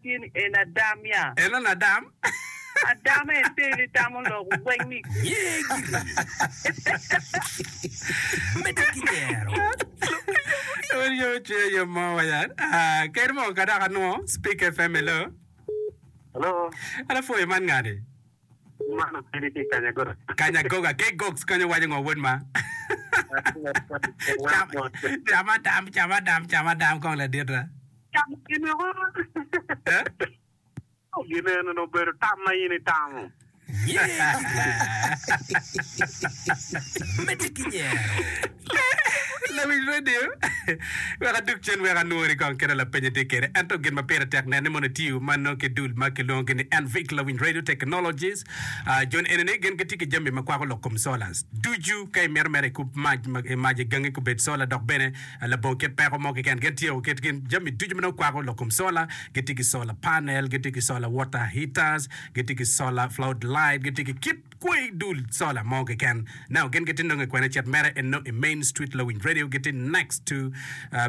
tye ni en adam ya. En on adam. Adam en teli tamo lok weng ni. Ye giri. Medde ki nyero. Wun yo cwinya yom mo wa ya. Ah, ker mo ka dok anwo Speak FM hello. Hello. An apwoyo man ngani. Man opidi ki Kanyagoga. Kanyagoga ke gogs konyo waco ngo wod ma. Cam, cam adam, cam adam, cam adam kong ladita. Camo gin woko. Eh? Gin eno ni obedo tam ma in itamo. Ye giri. Medde ki nyero. Lawiny radio, wek adug cen wek anwori kong kit ma lapenye tye kwede. Ento gin ma pire tek nen ni mono itiyo ma nongo ki dul ma kilwongo ni NVIC Lawiny Radio Technologies. Ah, jon eni ni gin gitye ki jami ma kwako lok kom solars ducu. Ka imito mere ikub mac ma mac i gangi kubed solar dok bene labongo kit peko mo keken. Gin tye kit gin jami ducu ma nongo kwako lok kom solar. Gitye ki solar panel, gitye ki solar water heaters, gitye ki solar flood light, gitye ki kit Kwei dul sola mo keken. Now gin gitye nongo i kwene cet mere en nongo i main street Lawiny Radio gitye next to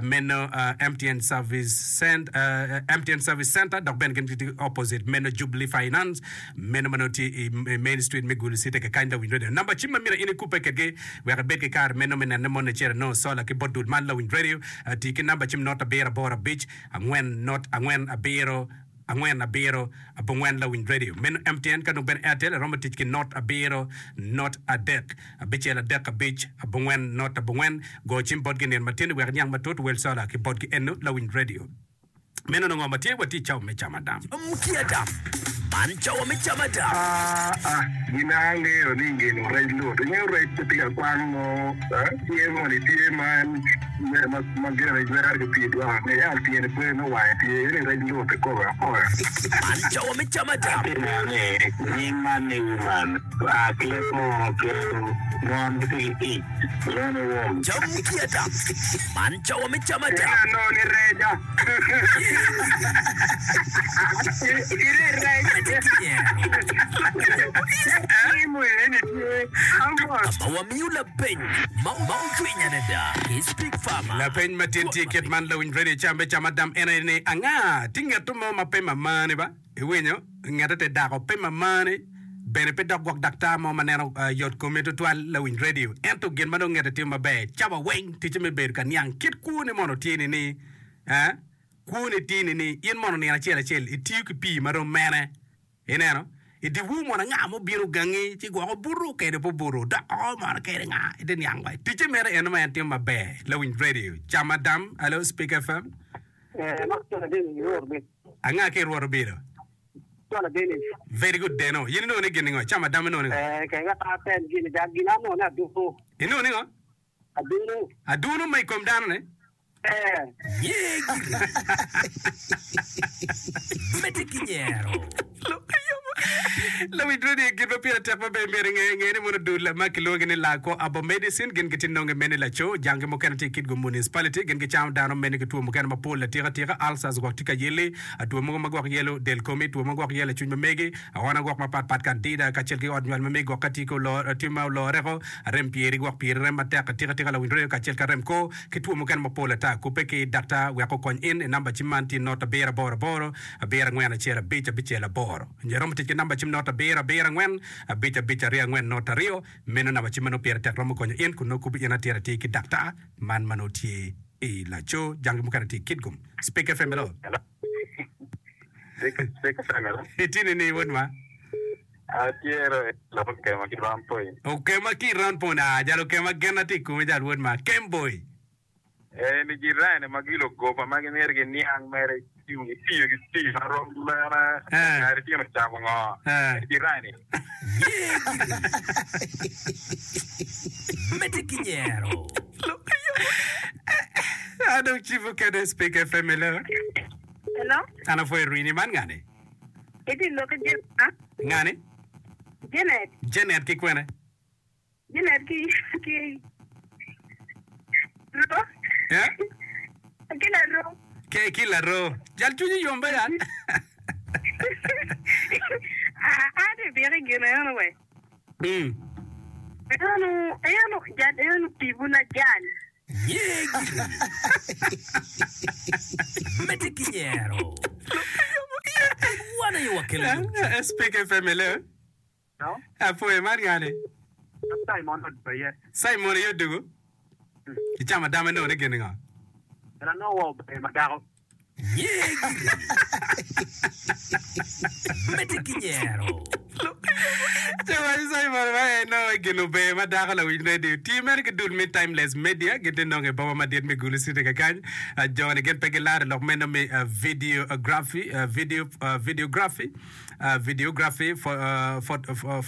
meno MTN service cent MTN service center dok bene gin gitye opposite meno Jubilee Finance meno ma nongo tye i main street me Gulu city kakany Lawiny Radio. Namba cim ma myero in ikubbe kedgi wek ibed ki kare meno me nene mono icito inongo sola ki bot dul man Lawiny Radio tii ki namba cim not abiro aboro abic angwen not angwen abiro angwen abiro abongwen lawiny radio meno MTN ka dong bene Airtel iromo tic ki not abiro not adek abicel adek abic abongwen not abongwen go cim botgi nino matino wek iniang matut wel sola ki botgi eno lawiny radio meno nongo ma tye watye cawa me camo adam. Cam ki adam. Man cawa me camo adam. Aa, gin a angeyo ni ngino rec lut. Ingeyo rec pe tye ka kwang mo, tye moni tye ma en ma gire jwero ki pii dwoko ne yam tyene pe me wange tye eni rec lut kikobe akoya. Man cawa me cam adam. Atye neno ni nying man ni woman oa ki leb munu pien mon gitye ki ic lwongo ni wom. Cam ki adam. Man cawa me cam adam. Ineno ni reca. Ma wamiyo lapeny ma ocwiny adada ki Speak Farmer. Lapeny ma tye tye kit man lawiny radio cam me cam adam en aye ni anga tye ngeto mo ma pe mamani ba iwinyo ngete te dako pe mamani bene pe dok gwok daktar mo ma neno yot komi tutwal lawiny radio ento gin ma dong ngete timo maber cawa weng ticce me bedo ka niang kit kwone mono tye ni ni Eh, kwoni tye-ni ni in mono nino acel acel itiyo ki pii ma rom mene? Ineno? I dyewor mono anga ma obino gangi ci gwok obuto kede pe obuto, dok oko mono kede nga? Ite niang wa. Ticce mere eno ma en timo maber. Lawiny radio, Cam Adam, Alo, Speak FM. Eh, ma cwalo Dennis i Rwot obino. Anga ki i Rwot obino? Cwalo Dennis. Very good Deno. In inongo ni gin ningo? Cam Adam inongo ningo? Eh, kega pa apen gin, dak gin anongo ni aduku. Inongo ningo? Adunu. Adunu ma i kom dano ni? Ye giri. Medde ki nyero. Lawiny Radio gin ma pire tek maber myero inge nge ni mono dul ma kilwongi ni Lako Abo Medicine gin gitye nonge mene laco jangi mukene tye i Kitgum Municipality gin gicamo dano mene ki two mukene mapol atika tika ulcers gwok tye ka yeli two mogo ma gwok yelo del komi two ma gwok yelo cwiny ma megi Aona gwok mapat pat kandida kacel ki ot nywal ma megi gwok ka tye ki olor tye ma oloreko, arem pyeri gwok pyeri rem matek atika tika lawiny reyo kacel ki arem kor ki two mukene mapol ata. Kubbe ki daktar wek okony in i namba cim man tye not abiro aboro aboro abiro angwen acel abic abicel aboro. Nyo iromo tic ki namba cim not abiro abiro angwen abic abic aryo angwen not aryo. Meno namba cim ma nongo pire tek romo konyo in kun nongo kubi in atir atir ki daktar man ma nongo tye i laco jangi mukene tye i Kitgum. Speak FM hello. Itye nining wod ma? Okema ki i Round Point. Ah, jal okema genna tye i komi jal wod ma. Kemboy. Eni jirani ma gilugoba ma gimito giniang mere itiyo ki pii ma rom mene kare tino camo ngo jirani. Ye giri. Medde ki nyero. An dong cibo kede Speak FM hello. Hello. An apwoyo rini man ngani? Itye lok ki Janet. Ngani? Janet. Janet ki kwene? Janet ki ki Ro. Eh? Ki laro. Ke ki laro. Jal cwinyi yom ba ya? Ah, an tye biki gine eno we. Mm. Eno, eno, jal eno tipo na jal. Ye giri. Medde ki nyero. aye wakelo yomcwiny. Speak FM hello. Apwoyo man ngani? Simon odugo aye. Simon aye odugo? Icamo adama inongo ni gin ngo? En anongo wa ober ma dako. Nye giri. Medde ki nyero. Ci waco Simon ma en nongo gin ober ma dako lawiny radio. Tye mere ki dul me Timeless Media gin tye nongo i boma madit me Gulu City kakany. Jo ni gin pe gilaro lok meno me videography, video, videography. videography,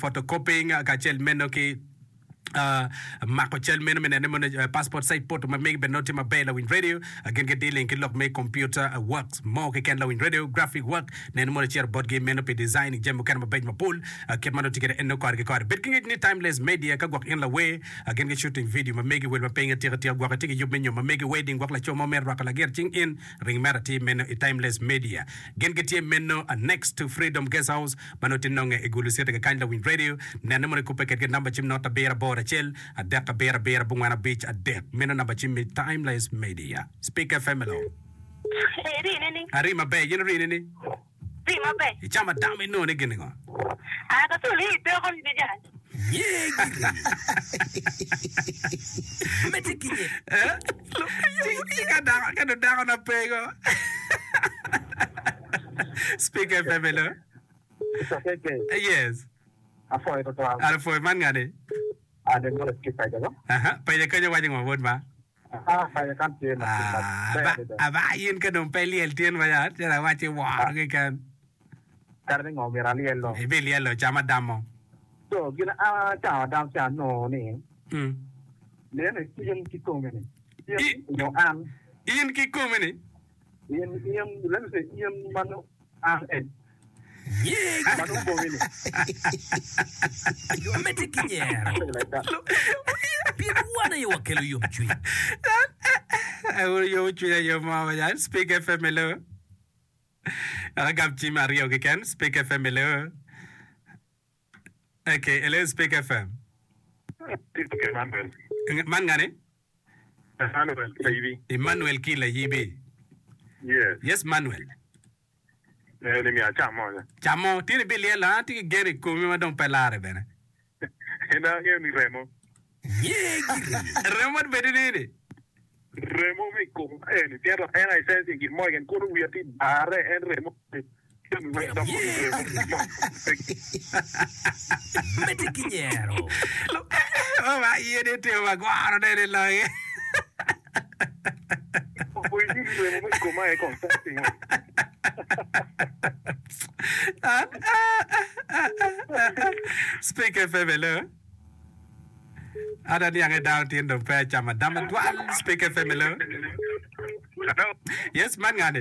photocopying kacel meno ki mako cal meno me nene mono passport size photo ma megi bene nongo tye maber lawiny radio gin gi dealing ki lok me computer works mo keken lawiny radio graphic work nene mono icito botgi meno pi designing jami mukene mabeco mapol kit ma nongo tye kwede en nongo kore ki kore bed ki ngec ni timeless media ka gwok in lawer gin gi shooting video ma megi wel ma piny atika tika gwok itye ki yub me nyom ma megi wedding gwok laco mo mito rwako lagit cing in Ring mere atir meno i Timeless Media. Gin gitye meno next to Freedom Guest House ma nongo tye nonge i Gulu City kakany Lawiny Radio. Nene mono ikubbe kedgi namba cim not abiro aboro acel adek abiro abiro abongwen abic adek. Meno namba cim me Timeless Media. Speak FM hello. Eri nining? Ari maber, in ori nining? Ri maber. Icamo adam inongo ni gin ngo? Ah, ka tul i toko ni jal. Nye giri. Medde ki nye. Eh? Ci ci ka dako ka dong dako na pe go. Speak FM hello. Yes. Apwoyo tutwal. An apwoyo man ngani? An Emmanuel ki paco ba. Aha, paco kenyo waco ngo wod ma? Ah, paco kan tye ma tye Ah, maber aba, adada. aba in ka dong pe ilyel tyen ma ya, calo awacci woro keken. Kare ni ngo myero alyel dong. Ibilyelo cam adamo. So gin a camo adam ca anongo ni Mm. nene in kikomi ni in I- nyo an In kikomi ni? in in let me say in ma nongo an en Nye ma nongo komi ni Medde ki nyero. something like that. Pien wan aye wakelo yomcwiny. Awuro yomo cwinya yo mo ma jan. Speak FM hello. Agam cim aryo keken. Speak FM hello. Okay, hello Speak FM. Emmanuel. Man ngani? Emmanuel ki Layibi. Emmanuel ki Layibi. Yes. Yes, Manuel. Eh, ni miyo acam mo. Camo, tye ni bilyelo, an atye ki gen i komi ma dong pe lare bene. En angeyo ni remo. Nye giri. Remo bedo nini? Remo me i kom eni pien dok en aye sensing gin mo keken kono wiya tye barre en remo jami weng dok Nye remo giri. Medde ki nyero. Mama iye ni timo magwaro ne ni loge. Oboyi ni remo me i kom aye kong sensing. Speak FM hello. An aniang ni dano tin dong pe acamo adama twal. Speak FM hello. Hello. Yes, man ngani?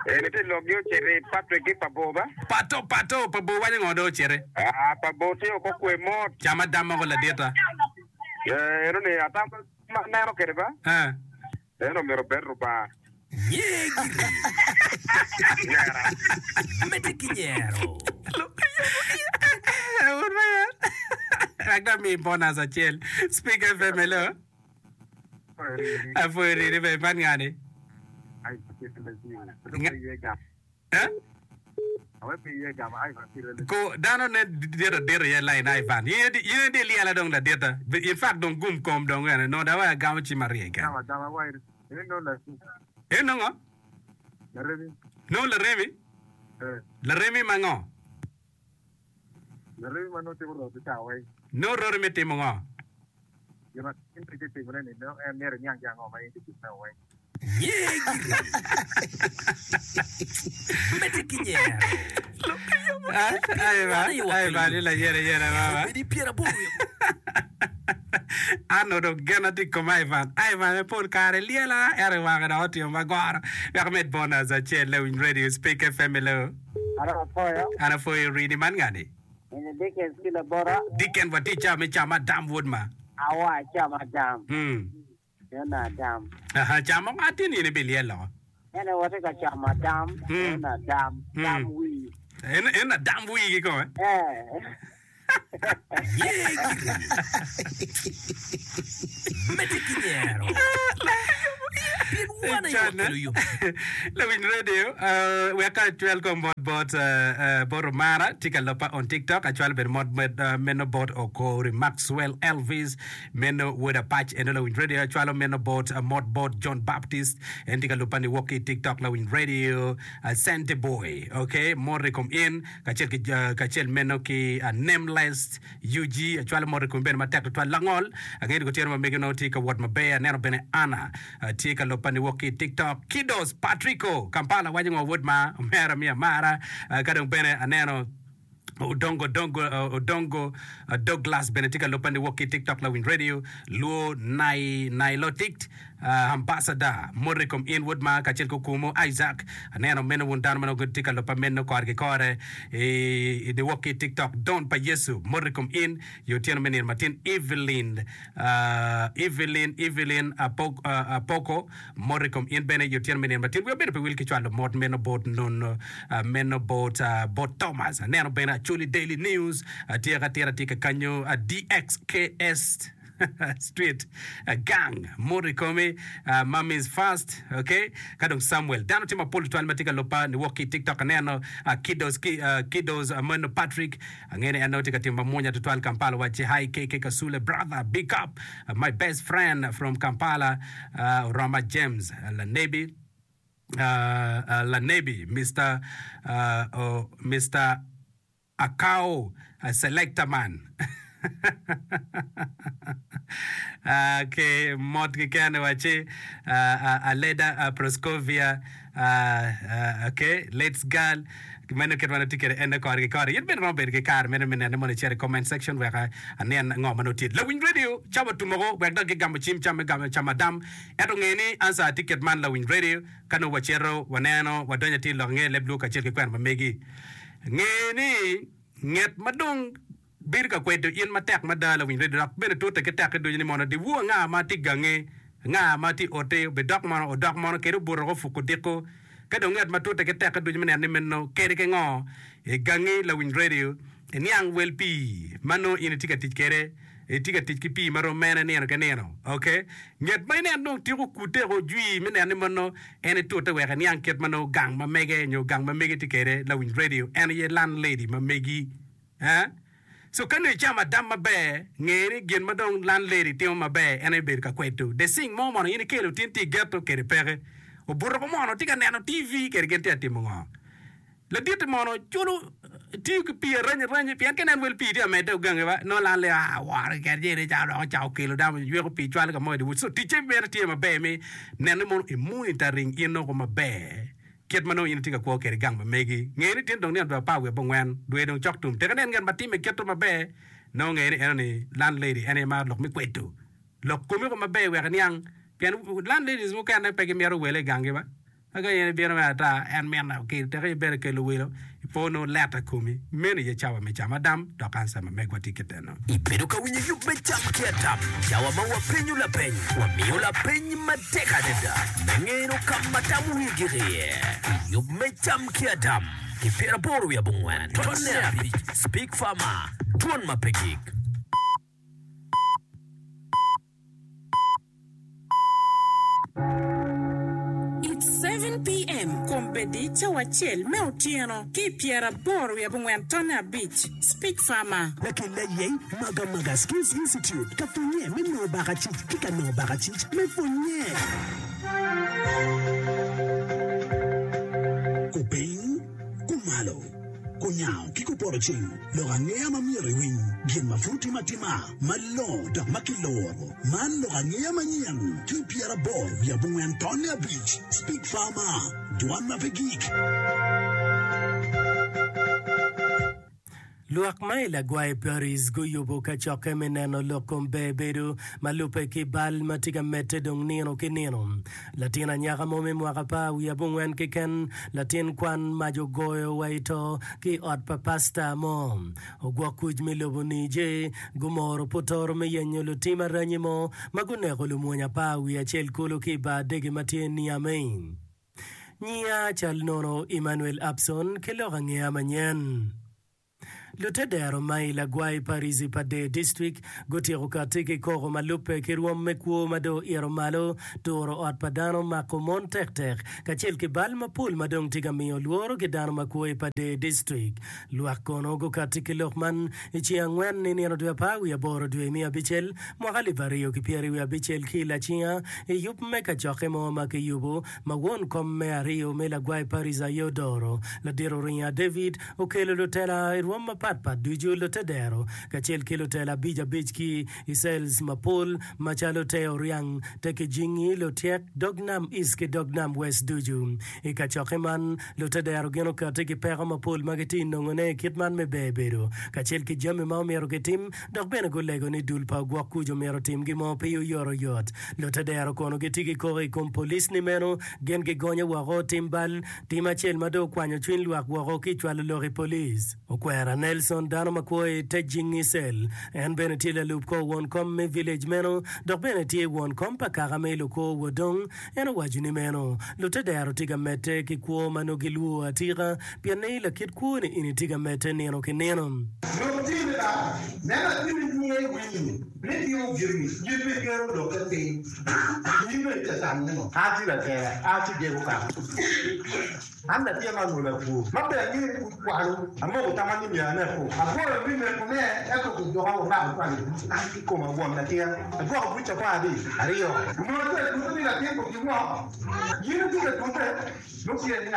Eni tye lok gi ocito i Patrick ki pa bor ba? Pato, pato, pa bor waco ngo dong ociti? Ah, pa bor tye oko kwe mot. Cam adama ko ladita. Eh, eno ni atam ma aneno kede ba? Eh. En omyero obed Rubanga. Nye giri. Nyera. Medde ki nyero. Wun ma yer. Wek dong ami bonus acel. Speak FM, hello. Apwoyo rini be, man ngani? Eh? Ko dano ne dit adit iye lain Ivan. In in in di lyela dong ladita. In fact dong gum kom dong ene nongo dong agamo cim arye keken. En nongo? Nongo laremi? Laremi ma ngo? Nongo roti me timo ngo? Nye giri. Medde ki nyero. Obedi pyeraboro wiye An onongo genna tye i kom Ivan. Ivan aye pol kare lyela ento i wange dok otimo magoro. Wek amed bonus acel lawiny radio Speak FM hello. An apwoyo rini man ngani? Eni Dickens ki labota. Dickens watye i cawa me camo adam wod ma. Awa acamo adam. Mm. Eno adam. Aha, camo atin in ibilyelo. Ene watye ka camo adam. Mm. Eno adam. Mm. Dam wii. En en adam wii kikome. Eh. Ye giri. Medde ki nyero. Pien. Wan aye wakelo yom. Lawiny radio, wek acwal kong mot bot bot Omara tye ka lobba on TikTok. Acwalo bene mot meno bot Okori Maxwell Elvis meno wod Apac eno lawiny radio. Acwalo meno bot mot bot John Baptist en tye ka lubba niwok ki i TikTok lawiny radio. Sente boy ok mot i kom in kacel ki kacel meno ki Nameless UG acwalo mot i komi bene matek tutwal. Langol, angeyo ni kutyeno ma megi onongo tye ka wot maber. Aneno bene Anna tye ka lubba niwok ki i TikTok. Kidos Patrico, Kampala waco ngo wod ma omera mi amara. Ka dong bene aneno Odongo Dongo Odongo Douglas bene tye ka lubba niwok ki i TikTok Lawiny Radio Luo Nai Nilotict. Ambassador mot i kom in wod ma kacel ki okumu Isaac. Aneno meno wun dano ma nongo gitye ka lubba meno kore ki kore i niwok ki i TikTok. Don pa Yecu mot i kom in i otyeno me nino matin. Evelyn Evelyn Evelyn Apoko mot i kom in bene i otyeno me nino matin. Wiya bene pe wil ki cwalo mot meno bot nono meno bot bot Thomas. Aneno bene Acholi Daily News tye ka tira tye ka kanyo DXKS. Street gang mot i komi Mummy's first ok ka dong Samuel dano tye mapol tutwal ma tye ka luba niwok ki i tiktok aneno kiddos ki kiddos meno Patrick angeyo ni en nongo tye ka timo mamwonya tutwal Kampala wacci hi KK Kasule brother big up my best friend from Kampala Oroma James lanebi lanebi Mister Mister Akao selector man ki mot keken wacci Aleda Proscovia ok let's girl meno kit ma nongo tye kwede ene kore ki kore in bene iromo bedo ki kare meno me nene mono icito i comment section wek anen ngo ma nongo tye lawiny radio cawa otum woko wek dok gigamo cim cam me gamo camo adam ento nge ni answer tye kit man lawiny radio ka nongo wacito waneno wadonyo atir lok nge leb luo kacel ki kwena ma megi. Nge ni nget ma dong bedo ka kwedo in matek mada lawiny redio dok bene tute ki tekke ducu ni mono dyewor anga ma tye gangi, anga ma tye i otti, obidok mono, odok mono kede obuto woko opuko odiko. Ka dong nget ma tute ki tekke ducu me neno ni meno kede ki ngo i gangi lawiny redio, iniang wel pii ma nongo in itye ka tic kwede. Itye ka tic ki pii ma rom mene nino ki nino? Ok. Nget ma inen dong tiko kute ko jwi me neno ni mono en itute wek iniang kit ma nongo gang ma mege nyo gang ma megi tye kwede lawiny radio en aye landlady ma megi. Eh? So ka nongo icamo adam maber, nge ni gin ma dong landlady timo maber en aye bedo ka kwedo the sing mo mono in ikelo tin tye i ghetto kede peke. Obuto ko mono tye ka neno TV kede gin tye ka timo ngo? Laditti mono culo tiyo ki pii arany aranya pien ka inen wel pii tye ka medde ogangi ba nongo lan leo aa woro keken ci eni ca dok ocako kelo dano yweko pii cwalo ka mo i so ticce bene tye maber me neno ni mono i monitoring in nongo maber kit ma nongo in itye ka kwo kwede gang ma megi. Nge ni tin dong nino dwe 18 dwe dong cok tum tek inen ngat ma timme kite maber nongo nge ni eno ni landlady en aye maro lok me kwedo lok komi ko maber wek iniang pien landladies mukene pe gimito wele i gangi ba. Ma ka in ibino me ata, en mito okel teke ibedo kelo welo, ipo nongo leta komi. Meno aye cawa me camo adam, dok ansa ma megwa tye kit eno. Ibedo ka winyo yub me Cam ki Adam, cawa ma wapenyo lapeny, wamiyo lapeny matek adada me ngeno ka ma tam wi gik iye. I yub me Cam ki Adam, ki 84 tonne abic, Speak Farmer, Dwon ma pe gik. It's 7 PM, Kombeddi cawa acel me otyeno ki i pyeraboro wiye abongwen tonne abic. Speak Farmer. Lakella aye Magamaga Skills Institute ka pwonye me nongo bakacic ki ka nongo bakacic me pwonye. Kupiny, kumalo, kunyango ki kupoto ceng, lok angeya ma myero iwiny, gin ma pud timo atima, malongo dok ma kiloro. Man lok angeya manyen ki 84 tonne abic Speak Farmer, Dwan ma pe gik. Lwak ma i Lagwai Paris guyubo kacokke me neno lok kom ber bedo ma lubbe ki bal ma tye ka medde dong nino ki nino. Latin anyaka mo me mwaka apar wiye abongwen keken, latin kwan mac ogoyo wa i to ki i ot pa pasta mo. Ogwok kuc me lobo Niger gumoro putoro me yenyo lutim aranyi mo ma guneko lumwony apar wiye acel kulu ki i bar dege ma tye Niamey. Nyiya cal nono Emmanuel Abson ki lok angeya manyen. Lutedero ma i Lagwai Parici pa Dee District gutyeko katti ki koko ma lubbe ki rwom me kwo ma dong oito malo, turo ot pa dano, mako mon tektek, kacel ki bal mapol ma dong tye ka miyo lworo ki dano ma kwo i Padee District. Lwak kono gukatti ki lok man i ceng angwen i nino dwe apar wiye aboro dwe me abicel mwaka alip aryo ki pyeri wiye abicel ki i Lacinga i yub me kacokke mo ma kiyubo ma won kom me aryo me Lagwai Parish aye odoro. Ladit Oringa David okelo lutela i rwom mapat pat ducu, lutedero, kacel ki lutela abic abic ki i cells mapol macalo te Oryang, te Kijingi, Lutyek, Dog Nam East ki Dog Nam West ducu. I kacokke man, lutedero gin okati ki peko mapol ma gitye nongone i kit man me ber bedo kacel ki jami ma omyero gitim dok bene gulego ni dul pa ogwok kuc omyero otim gin mo pi oyotoyot. Lutedero kono gitye ki koko i kom police ni meno gin gigonyo woko tim bal Tim acel ma dong okwanyo cwiny lwak woko ki i cwalo lok i police. Okwera Nelson, dano ma kwo i te Jingi Cell, en bene tye lalub kor won kom me village meno dok bene tye won kom pa kaka me Lukor Wodong. En owaco ni meno lutedero tye ka medde ki kwo ma nongo gilwor atika pien ni lakit kwo ni eni tye ka medde nino ki nino. Lok tye ni ba, nen atir nyinge i wii ni timo gin gin me kero lokke piny. In bene itye ka tamo ni ngo? An tye latela, an tye jego kaka. An latin ma anywolo akwo. Ma ber angeyo ni pud kwalo. Amoko tamma ni myero aneko. Agoyo me nekone, ento kijuka wamako cwalo i buc. An kikoma won latin. Agwoko buc apar aryo. Onongo atye ka tute ni latin otim ngo? In itye ka tute?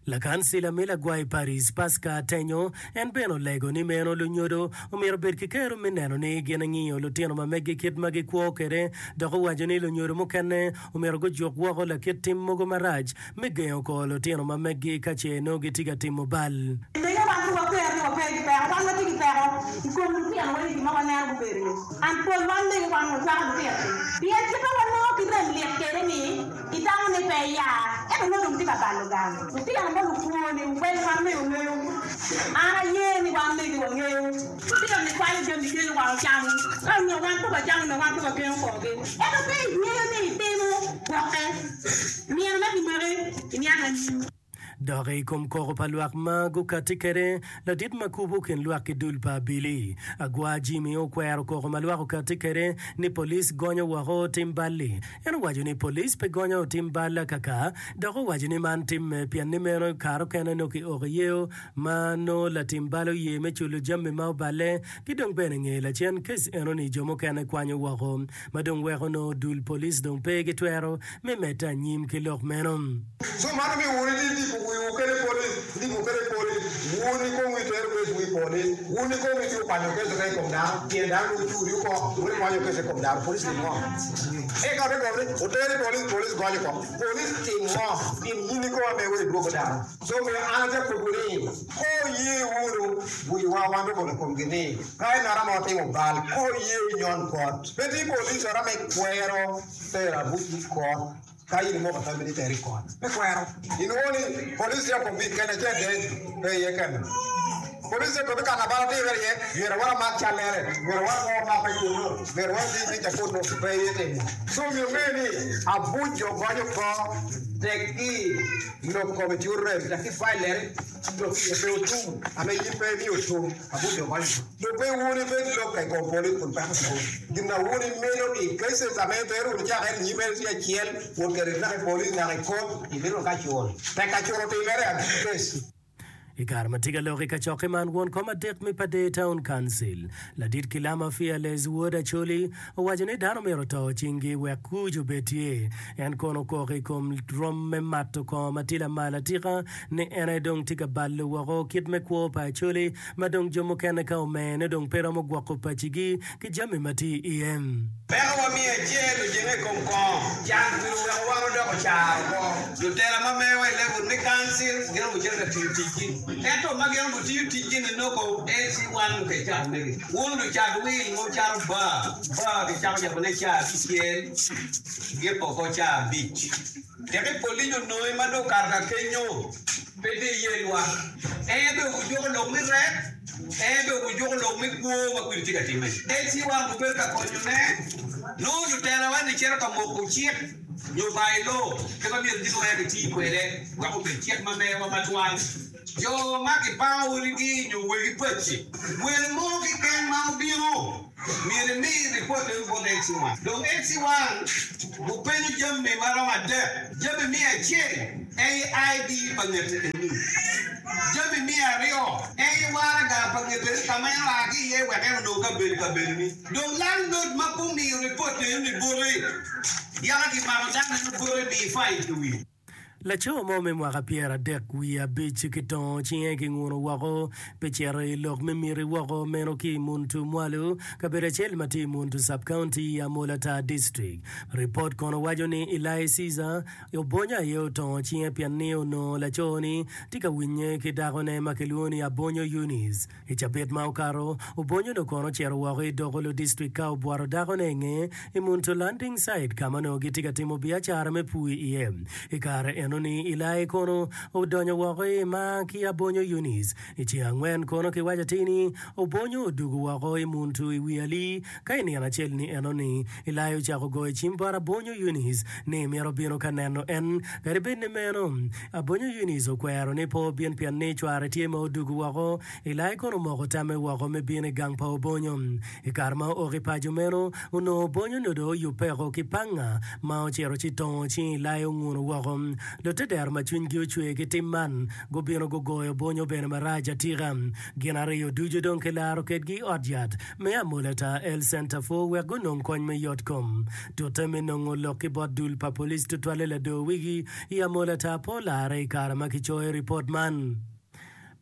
Lakancila me lagwai Paris, Pasca Atenyo, en bene olego ni meno lunyodo omyero obed ki kero me neno ni gin engiyo lutino ma meggi kit ma gikwo kwede dok owaco ni lunyodo mukene omyero gujuk woko lakit tim mogo marac me gengo kor lutino ma meggi ka ce nongo gitye ka timo bal. Mege wan pe wakwero ni wape ki peko, wan watye ki peko i kom lutino wa i gin ma waneno gubedo ni. And pol wan mege wan wacwako lutino ni pien kit ma wanongo ki rem lit kwede ni itamo ni pe ya ento nongo dong tye ka balo gang. Lutino ma lukwo ni weng wan mege ongeyo, an aye ni wan mege wangeyo. Lutino ni kwalo jami kelo wa ocamo ka onongo wan pe wacamo onongo wan pe wagengo korgi. Ento ka ingeyo ni itimo gwokke. Nino me kimaki iniang anyim. Dok i kom koko pa lwak ma gukatti kwede, ladit ma kubo kin lwak ki dul pa abili, Agwa Jimmy okwero koko ma lwak okatti kwede ni police gonyo woko otim bal-li. En owaco ni police pe gonyo otim bal akaka dok owaco ni man timme pien ni meno kare okene nongo kioko iyeo ma nongo latim bal oye me culo jami ma oballe ki dong bene nge lacen case enoni jo mukene kwanyo woko. ma dong weko nongo dul police dong pe ki twero me medde anyim ki lok meno. Co man omiyo wun ilipo wiwu kede police, ilipo kede police, wun ikomwu itero case wu i police, wun ikomwu itye kwanyo case ka ikom dano, pien dano dong ocuri oko, wun ikwanyo case ikom dano, police tim ngo? Eka ote gomo ni oter i police, police gonyo oko, police tim ngo? Tim in ikoma me wek idwogo dano. Co omiyo an atye kobo ni, Oye wunu wiwa wan dong i komgi ni, ka ngat mo otimo bal, oye inyon kot. Pe tye polic ora me kwero tero abuc i kot ka in imoko tammi ni iter i kot. Me kwero. Inwongo ni polic tye akobi kene acel de pe iye kene. Polic tye akobi ka labal otimere iye, myero wan omak callere, myero wan pe wamak i kunnu, myero wan oti tic akunnu, pe iye timo. Co myero onge ni abuc jo gonyo kor tek-ki lok kome tye orem dok ki file leri lok iye pe otum ame in pe imiyo otum abuc jo gonyo dong pe wun ibed lok i kom police kun peko tum gin na wun imedo i cases ame itero wunu caka eni nyim en tye acel wot kede naka i police naka i court imito ka cul tek ka cul otimere agiki case. I kare ma tye ka lok i kacokke man, won kom adek me Pader Town Council, ladit Kilama Fearless Wod Acholi, owaco ni dano myero oto cinggi wek kuc obed tye. En kono okok i kom rom me mato kongo ma tye lamal atika ni en aye dong tye ka balo woko kit me kwo pa Acholi ma dong jo mukene ka omene dong pe romo gwoko pacigi ki jami ma tye iye. Pekowa me acel ojenge i kom kongo. Can kwir oweko wan odoko caro oko. Lutela ma mewa i level me council gin gucito ka tiyo ticgi. Ento ma gin gutiyo ticgi ni nongo LC one mukene cako megi. Wun lucat wil ma wucato bar, bar kicako yabone caa abicel giko oko caa abic. Teki polic onongi ma dong okato ka kenyo pe tye iye lwak. En bene ojuko lok me rek, en bene ojuko lok me kwo ma kwidi tye ka timme. LC one gubedo ka konyone, nongo lutelawa ni cito ka moko cik. nyo by law kit ma myero gin wek giti kwede wek obed cik ma mewa matwal. Jo ma kipango odigi nyo wegi paci, wel mo keken ma obino myero imi ripot meno bot LC1. Dong LC1 gupenyo jami ma romo adek, jami me acel en aye ID pa ngete eni, jami me aryo en aye waraga pa ngete eni ka ma en oa ki iye wek en onong kabedo i kabedoni. Dong landlord ma pe omiyo ripot enoni bote, yaka kimako dano eno bote miyi fine i wiye. Laco mo me mwaka pyeradek wiye abic kitongo cinge kinguno woko pi cito i lok me miti woko meno ki i Muntu Mwalo, kabedo acel ma tye i Muntu Sub-County i Amolatar District. Ripot kono waco ni Eli Caesar Obonyo aye otongo cinge pien ni onongo laco-ni tye ka winye ki dakone ma kilwongo ni Abonyo Eunice. I cabit ma okato, Obonyo-nu kono ocito woko i Dokolo District ka obwoto dakone i nge i Muntu Landing Site ka ma onongo gitye ka timo biacara me pur iye. I kare enoni, Ilai kono odonyo woko i mar ki Abonyo Eunice. I ceng angwen kono kiwaco atir ni Obonyo odugo woko i Muntu i wi alii ka i nino acel-ni enoni, Ilai ocako goyo cim bot Abonyo Eunice ni mito bino ka neno en. Kadi bed ni meno, Abonyo Eunice okwero ni pe obin pien ni cware tye ma odugo woko. Ilai kono omoko tamme woko me bino i gang pa Obonyo. I kare ma ook i paco meno, onongo Obonyo nyo dong oyubbeko ki panga ma ocito ci tongo cing Ilai onguno woko. Lutedero ma cwinygi ocwer ki tim man gubino gugoyo Obonyo bene marac atika. Gin ariyo ducu dong kilaro kedgi i ot yat me Amolatar Health Centre for wek gunong kony me yot kom. Tute me nongo lok ki bot dul pa police tutwalle lador wigi i Amolatar pe olare i kare ma kicoyo ripot man.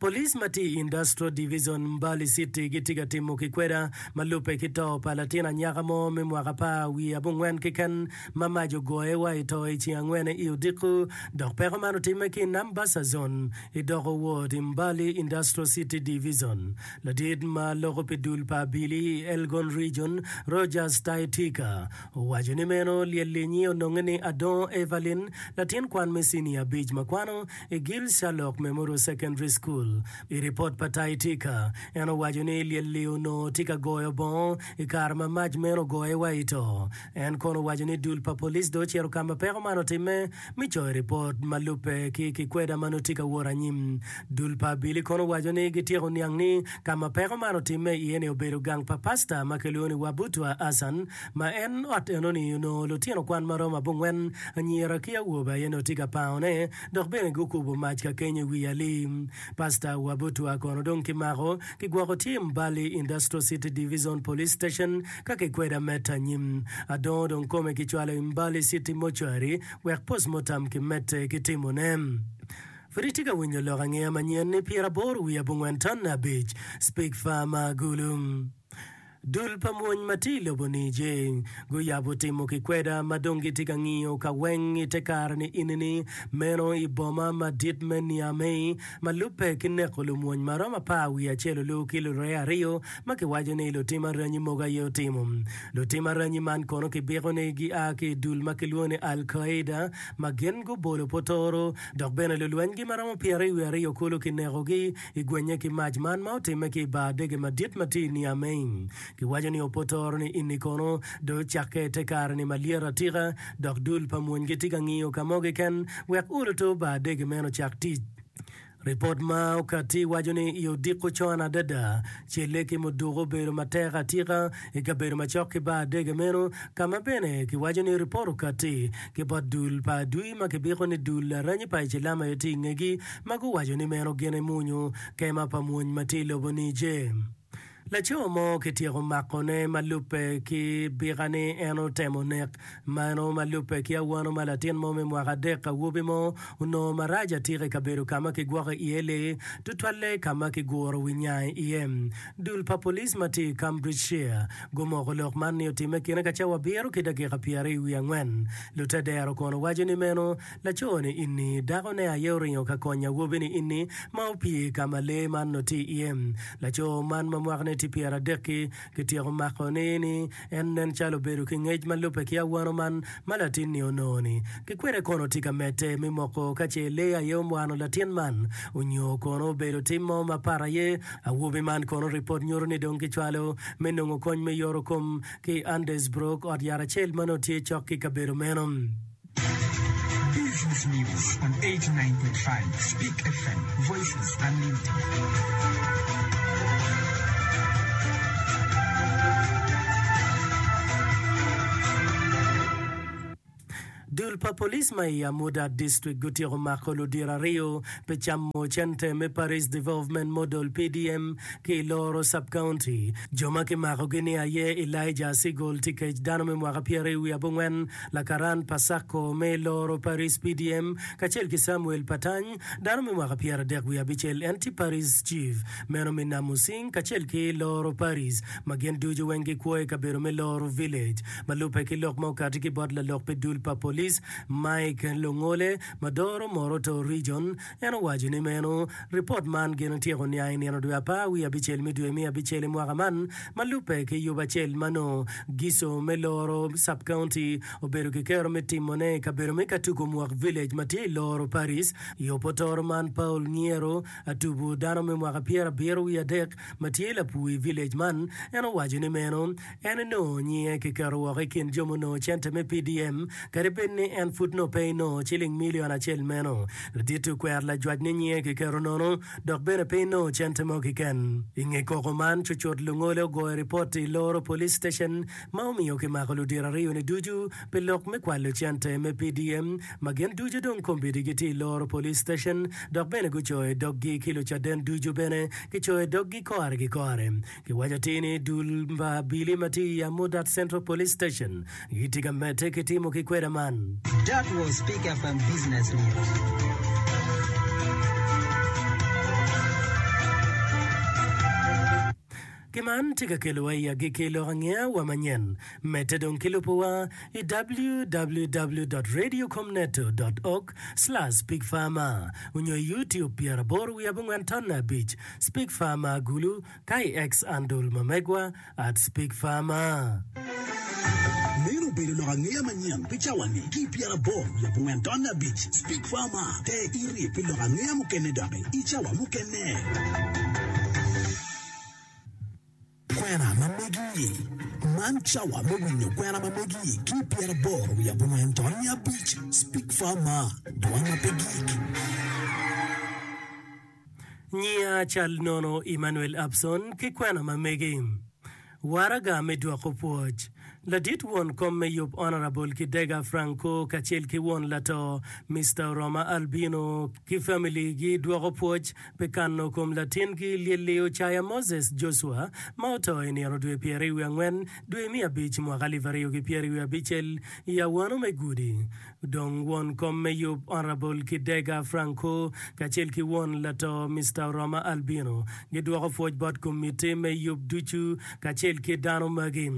Police ma tye i Industrial Division Mbali City gitye ka timo kikweda ma lubbe ki to pa latin anyaka mo me mwaka apar wiye abongwen keken ma mac ogoye wa i to i ceng angwene i odiko dok peko man otimme ki i Nambasa Zone i Doko Ward i Mbali Industrial City Division. Ladit ma loko pi dul pa abili i Elgon Region, Rogers Taitika, owaco ni meno lyel linyi ononge ni Adongo Evelyn, latin kwan me cinia abic ma kwano i Gil Sherlock Memorial Secondary School. I ripot pa Taitika, en owaco ni lyel-li onongo tye ka goyo bongo i kare ma mac meno ogoye wa i to. En kono owaco ni dul pa police dong ocito ka ma peko man otimme me coyo ripot ma lubbe ki kikweda ma nongo tye ka wot anyim. Dul pa abili kono owaco ni gityeko niang ni ka ma peko man otimme iye-ni obedo gang pa pasta ma kilwongo ni Wabutwa Hassan ma en ot enoni onongo lutino kwan ma romo abongwen anyira ki awobe aye nongo tye ka pangone dok bene gukubo mac ka kenyo i wi alii. Pasta Wabutwa kono dong kimako kigwoko tye i Mbali Industrial City Division Police Station ka kikweda mette anyim. Adongo dong kome kicwalo i Mbali City Mortuary wek postmortem kimedde ki timone. Pud itye ka winyo lok angeya manyen ni pyeraboro wiye abongwen tonne abic Speak Farmer Gulu. Dul pa mwony ma tye i lobo Niger guyabo timo kikweda ma dong gitye ka ngiyo ka weng i te kare-ni ini-ni, meno i boma madit me Niamey, ma lubbe ki neko lumwony ma romo apar wiye acel olu ki luree aryo ma kiwaco ni lutim aranyi mogo aye otimo. Lutim aranyi man kono kibiko ni gia ki i dul ma kilwongo ni Al-Qaeda ma gin gubolo potoro dok bene lulwenygi ma romo pyeraryo wiye aryo kulu kinekogi i gwenye ki mac man ma otimme ki i bar dege madit ma tye i Niamey. Kiwaco ni opotoro ni ini kono dong ocakke i te kare-ni malyet atika dok dul pa mwony gitye ka ngiyo ka mo keken wek uluto bar dege meno ocak tic. Ripot ma okatti waco ni i odiko con adada, celle ki muduku obedo matek atika i kabedo macok ki bar dege meno, ka ma bene kiwaco ni ripot okatti ki bot dul pa adwi ma kibiko ni dul aranyi pa Icilam aye tye i ngegi ma guwaco ni meno gin emunyu kema pa mwony ma tye i lobo Niger. Laco mo kityeko makone ma lubbe ki bika ni en otemo nek meno ma lubbe ki awano ma latin mo me mwaka adek awobi mo onongo marac atika i kabedo ka ma kigwoko iye lee, tutwalle ka ma kiguro wi nyangi iye. Dul pa police ma tye i Cambridgeshire gumoko lok man ni otimme kine ka cawa abiro ki dakika pyeraryo wiye angwen. Lutedero kono waco ni meno Laco-ni ini, dakone aye oringo ka konyo awobi-ni ini ma opye ka ma lee man onongo tye iye. Laco man ma mwakane tye pyeradek-ki, kityeko makone ni en nen calo obedo ki ngec ma lubbe ki awano man ma latin-ni onongo-ni. Ki kwede kono tye ka medde me moko ka ce lee aye omwano latin man onyo kono obedo tim mo mapat aye. Awobi man kono ripot nyuto ni dong kicwalo me nongo kony me yoro kom ki i Andesbrook, ot yat acel ma nongo tye cok ki kabedo meno. Business News on 89.5 Speak FM, Voices Unlimited. Dul pa police ma i Amudat District gutyeko mako ludito aryo pi camo cente me Parish Development Model, PDM, ki i Loro Sub-County. Jo ma kimakogi-ni aye Elijah Asigol Tikec, dano me mwaka pyeraryo wiye abongwen, lakaran pa Sacco me Loro Parish PDM, kacel ki Samuel Patany, dano me mwaka pyeradek wiye abicel, en tye Parish Chief meno me Namusing kacel ki Loro Parish, ma gin ducu weng gikwo i kabedo me Loro Village. Ma lubbe ki lok ma okati ki bot lalok pi dul pa police, Mike Longole, ma doro Moroto Region, en owaco ni meno ripot man gin otyeko niang i nino dwe apar wiye abicel me dwe me abicel i mwaka man ma lubbe ki yub acel ma nongo Giso me Loro Sub-County obedo ki kero me timone i kabedo me Katuku Mwak Village ma tye i Loro Parish. I opotoro man Paul Ngiero Atubu dano me mwaka pyerabiro wiye adek ma tye lapur i village man en owaco ni meno En onongo nyinge kiketo woko i kin jo munongo cente me PDM, kadi bed ni en pud nongo pe enongo ciling milion acel meno. Ladit okwero lajwac ni nyinge kiketo nono dok bene pe enongo cente mo keken. I nge koko man, cucut lungole ogoyo ripot i Loro Police Station ma omiyo kimako ludito aryo-ni ducu pi lok me kwalo cente me PDM ma gin ducu dong kombeddi gitye i Loro Police Station dok bene gucoyo doggi ki lucaden ducu bene kicoyo doggi kore ki kore. Kiwaco atir ni dul pa abili ma tye i Amudat Central Police Station gitye ka medde ki timo ki kweda man. That was Speak FM Business News. Ki man tye ka kelowa i agikki lok angeya wa manyen. Medde dong ki lubowa i www dot radiocomneto dot org slash speakfarmer onyo i YouTube pyeraboro wiye abongwen tonne abic Speak Farmer Gulu ka i X-andle ma megwa at Speak Farmer. Meno obedo lok angeya manyen pi cawa-ni ki i pyeraboro wiye abongwen tonne abic. Speak Farmer te iri pi lok angeya mukene doki i cawa mukene. Kwena ma megi. Man cawa me winyo kwena ma megi ki i pyeraboro wiye abongwen tonne abic. Speak Farmer, dwan ma pe gik. Nyiya cal nono Emmanuel Abson ki kwena ma megi. Waraga me dwoko pwoc. Ladit won kom me yub Honourable Kidega Franco kacel ki won lato Mister Oroma Albino ki family gi dwoko pwoc pi kano kom latin gi lyelli Ocaya Moses Joshua ma oto i nino dwe pyeraryo angwen dwe me abic mwaka alip aryo ki pyeraryo abicel i awano me gudi. Dong won kom me yub Honourable Kidega Franco kacel ki won lato Mister Oroma Albino gidwoko pwoc bot komitti me yub ducu kacel ki dano magi,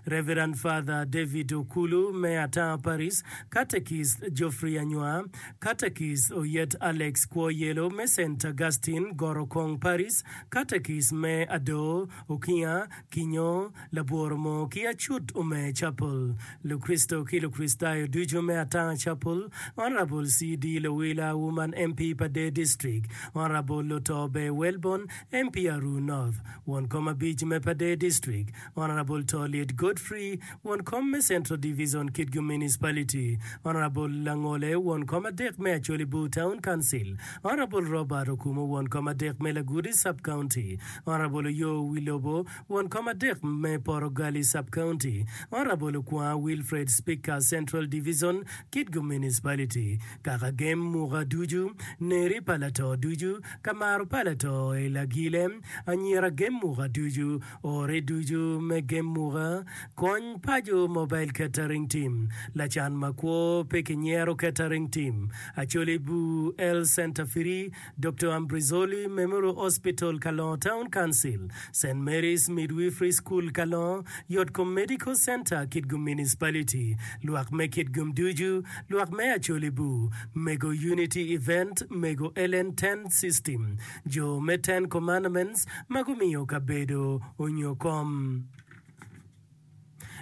Reverend Father David Okulu me Atanga Parish, Catechist Geoffrey Anywa, Catechist Oyet Alex Kwoyelo me Saint Augustine Gorokong Parish, Catechist me Adoo Okinga Kinyo, Labwor Moo ki Acut Omer Chapel, Lukricito ki Lukricitayo ducu me Atanga Chapel, Honourable CD Lowila, Woman MP pa Dee District, Honourable Luto Ber Welborn, MP Aruu North, Won Kom Abic me pa Dee District, Honourable Toliet Godfrey, Won Kom me Central Division Kitgum Municipality, Honourable Langole, Won Kom Adek me Acholi Bur Town Council, Honourable Robert Okumu, Won Kom Adek me Lagudi Sub-County, Honourable Oyo Wilobo, Won Kom Adek me Porogali Sub-County, Honourable Okwanga Wilfred, Speaker, Central Division, Kitgum Municipality, Kaka Gem Muka ducu, Neri pa Lato ducu, Kamaro pa Lato i Lagile, Anyira Gem Muka ducu, Ore ducu me Gem Muka, Kony Paco Mobile Catering Team, Lacan Makwo pe Kinyero Catering Team, Acholi Bur Health Centre Free, Doktor Ambrizoli Memorial Hospital Kalongo Town Council, Saint Mary's Midwifery School Kalongo, Yotkom Medical Centre Kitgum Municipality, Lwak me Kitgum ducu, Lwak me Acholi Bur, Mego Unity Event, Mego Ellen Tent System, Jo me Ten Commandments ma gumiyo kabedo onyo kom.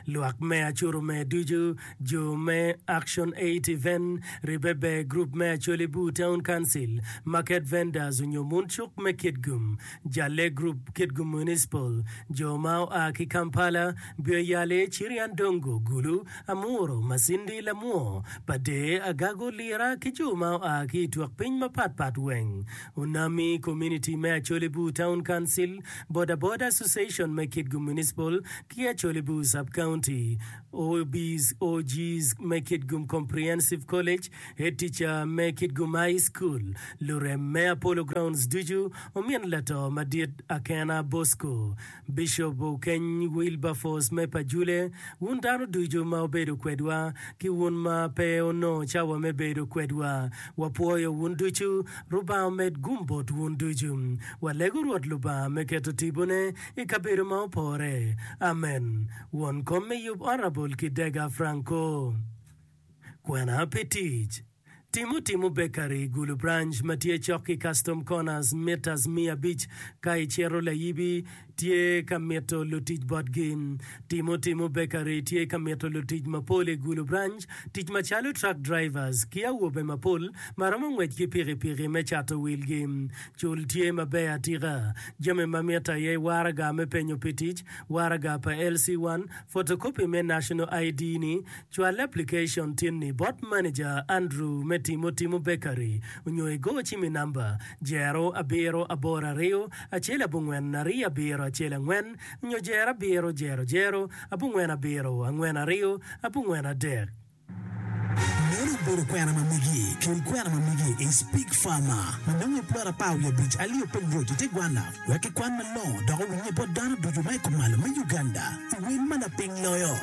Lwak me Acurume ducu, jo me Action Aid Event, Ribbe Ber Group me Acholi Bur Town Council, Market Vendors onyo Mun Cuk me Kitgum, Jalle Group Kitgum Municipal, jo ma oa ki Kampala, Bioyale, Cirian Dongo, Gulu, Amuro, Masindi, Lamwo, Padee, Agago, Lira ki jo ma oa ki i twok piny mapat pat weng. Onami Community me Acholi Bur Town Council, Boda Boda Association me Kitgum Municipal ki Acholi Bur Sub County, OBs, OGs me Kitgum Comprehensive College, Head Teacher me Kitgum High School, lurem me Apollo Grounds ducu, omin lato madit Akena Bosco, Bishop Okeny Wilberforce me Pajule, wun dano ducu ma wubedo kwedwa, ki wun ma pe onongo cawa me bedo kwedwa, wapwoyo wun ducu. Rubanga omed gum bot wun ducu. Walego Rwot Lubanga me keto tipone i kabedo ma opore. Amen. Won kom me yub Honourable Kidega Franco. Kwena pi tic. Timo Timo Bakery, Gulu Branch ma tye cok ki Custom Corners metres 500 ka icito Layibi tye ka mito lutic botgi. Timo Timo Bakery tye ka mito lutic mapol i Gulu Branch, tic macalo truck drivers ki awobe mapol ma romo ngwec ki pikipiki me cato wilgi. Cul tye maber atika. Jami ma mitte aye waraga me penyo pi tic, waraga pa LC1, photocopy me National ID ni, Cwal application tinni bot manager Andrew me Timo Timo Bakery onyo igo cim i namba, jero abiro aboro aryo acel abongwen aryo abiro acel angwen onyo jero abiro jero jero abongwen abiro angwen aryo abongwen adek. Meno obedo kwena ma megi. Kel kwena ma megi i Speak Farmer ma nonge i plot apar wiye abic Alio Piny Road i te Gwana wek kikwan malongo dok owinye bot dano ducu ma i kumalo me Uganda i wel ma lapiny loyo.